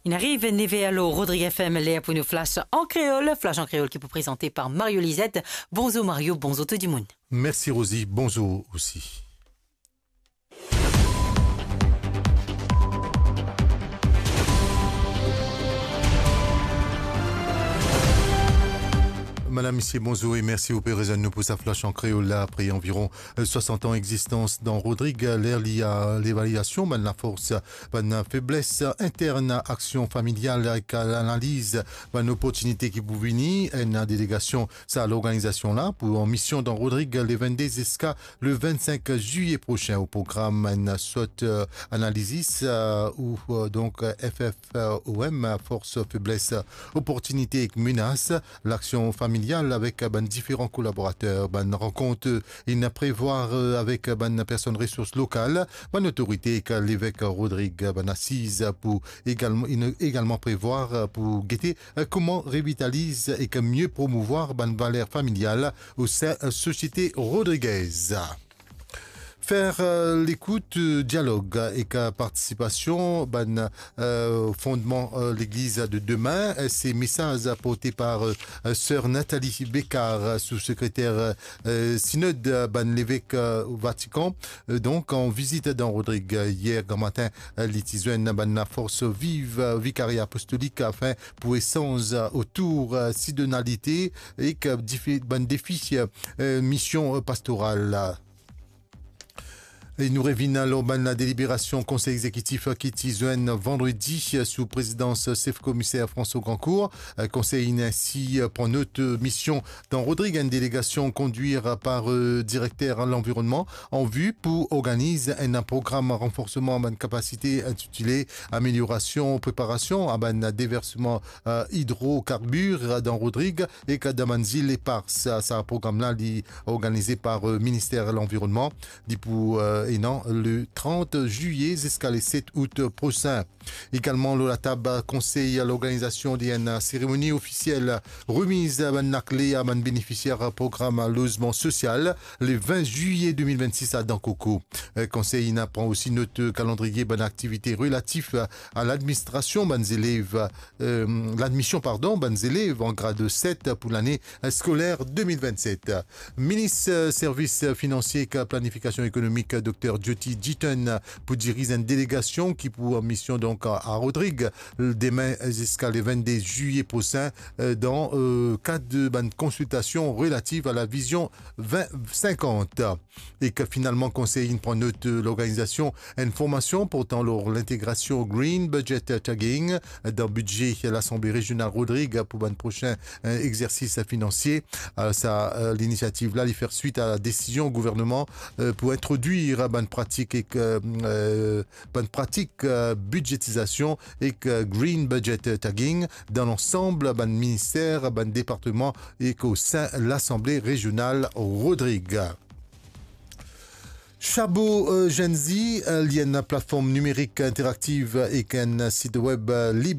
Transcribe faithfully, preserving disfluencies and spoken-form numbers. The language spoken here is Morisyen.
Inn ariv nef er lor Rodrig F M, ler pou nou Flash an Kreol. Flash an Kreol ki pou prezante par Mario Lizette. Bonzour Mario, bonzour tou dimoun. Mersi Rosie, bonzour osi. Madam, misie, bonzour e mersi ou pe rezwenn nou pou sa Flash an Kreol la. Apre anviron, eh, swasant an egzistans dan Rodrig, eh, ler li a levaliasion bann lafors, bann febles intern, aksion familial ek lanaliz bann oportinite ki pou vini. Enn delegasion sa lorganizasion la pou an mision dan Rodrig le vennde ziska le vennsink zilie prosin. O program, enn sot, eh, analizis, eh, ou, eh, donk, eh, F F O M, eh, fors, febles, oportinite ek menas, laksion familial avek bann diferan kolaborater. Bann rankont, eh, inn prevwar, eh, avek bann personn resours lokal, bann otorite ek levek Rodrig. Bann asiz pou egalman, inn egalman prevwar, eh, pou gete, eh, kouma revitaliz ek mie promouvwar bann valer familial o sin, eh, sosiete rodrigez. Fer, eh, lekout, eh, dialog ek, eh, partisipasion bann, eh, fondman, eh, Legliz de demin, eh, se mesaz porte par, eh, Ser Nathalie Bécard, eh, sou-sekreter, eh, Sinod, eh, bann levek, eh, Vatikan, eh, donk an vizit dan Rodrig, eh, yer gramatin, eh, li ti zwenn bann lafors viv, eh, Vikaria Apostolik afin pou esanz, eh, otour, eh, sinodalite ek, eh, dife-, bann defi, eh, mision, eh, pastoral la. E nou revinn lor bann deliberasion Konsey Egzekitif ki ti zwenn vandredi sou prezidans sef komiser François Grandcourt. Konsey inn insi pran not mision dan Rodrig enn delegasion kondwir par, eh, direkter lanvironnman an vi pou organiz enn program ranforsman bann kapasite intitile Ameliorasion preparasion a bann deversman, eh, idrokarbir dan Rodrig ek dan bann zil epars. Sa, sa program la, li organize par, eh, Minister Lanvironnman. Li pou, eh, ena le trant zilie ziska le set out prosin. Egalman lor latab konsey, lorganizasion de enn seremoni ofisiel remiz bann lakle a bann benefisier program lozman sosial le vin zilie de mil vennsis a Dan Koko. Eh, konsey inn pran osi not kalandriye bann aktivite relatif a ladministrasion bann zelev, eh, ladmision, pardon, bann zelev an grad set pou lane skoler de mil vennset. Minis, eh, Servis Finansie ek Planifikasion Ekonomik, Dokter Jyoti Jiten, pou diriz enn delegasion ki pou an mision, donk, a, a Rodrig, demin ziska le vennde zilie prosin, eh, dan, eh, kad de bann konsiltasion relativ a la vizion vin sinkant. Ek finalman, konsey inn pran not, eh, lorganizasion enn formasion portan lor lintegrasion Green Budget Tagging dan bidze Lasanble Rezional Rodrig pou bann prosin, eh, egzersis finansie. Eh, sa, eh, linisiativ la, li fer swit a desizion gouvernman, eh, pou introdwir bann pratik ek, eh, eh, bann pratik, eh, bidetizasion ek, eh, Green Budget Tagging dan lansam bann minister, bann departman ek o sin Lasanble Rezional Rodrig. Chabot, eh, Gen Z, eh, li enn platform nimerik interaktiv ek enn sit web, eh, lib